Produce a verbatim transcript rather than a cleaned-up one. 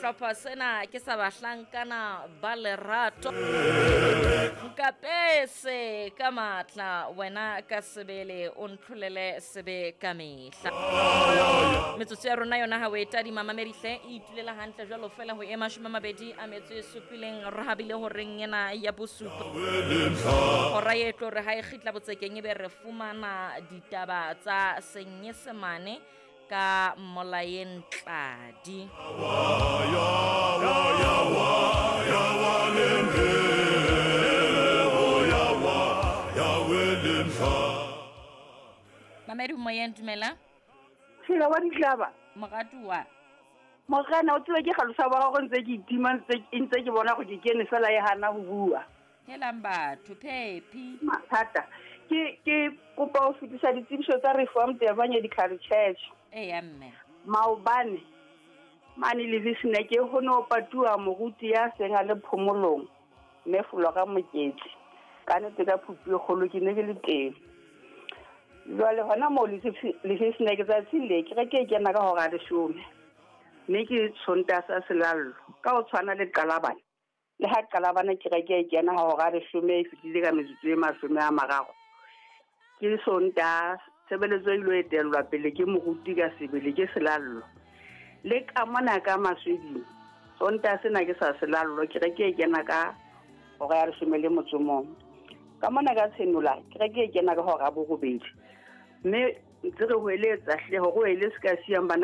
Sehlopha sena ke sa bahlankana ba lerato. Nkapese ka matla wena ka sebele o ntlholele sebe ka mehla. Metsotso ya rona yona ha o e tadima mamedihle e itulela hantle jwalo fela ho e mashome a mabedi a metso e supileng re habile horeng ena ya bosupa. Hora e tlo re ha e kgitla botsekeng ebe re fumana ditaba tsa Senyesemane ka Molaeng Tladi. Mamedi moyeng dumela. Phela wa ditlaba. Moratuwa. Morena o tsebe ke galosa ba gago ntse ke itima ntse ntse ke bona go ke kene fela e hana go bua. Helang batho Phephi. Mathata. Ke ke kopa ho fetisa ditsebiso tsa Reformed Evangelical Church. Eya mme. Maobane mane le Visneke ho no patuwa moruti ya seng a le phomolong mme Flora Moketsi. Ka nnete ka phupu e kgolo ke ne ke le teng. Jwale hona moo le Visneke tsatsing le kereke e kena ka hora ya leshome. Mme ke Sontaha sa selallo ka ho tshwana le Qalabane. Le ha Qalabane kereke e kena hora ya leshome e fetile ka metsotso e mashome a mararo. Ke Sontaha tshebeletso e ilo etellwa pele ke moruti ka sebele ke selallo. Le ka mona ka Masweding Sontaha sena ke sa selallo kereke e kena ka hora ya leshome le motso o mong. Ka mona ka Tshenola kereke e kena ka hora ya borobedi. Mme ntse re hoeletsa hle hore o ele se ka siyang bana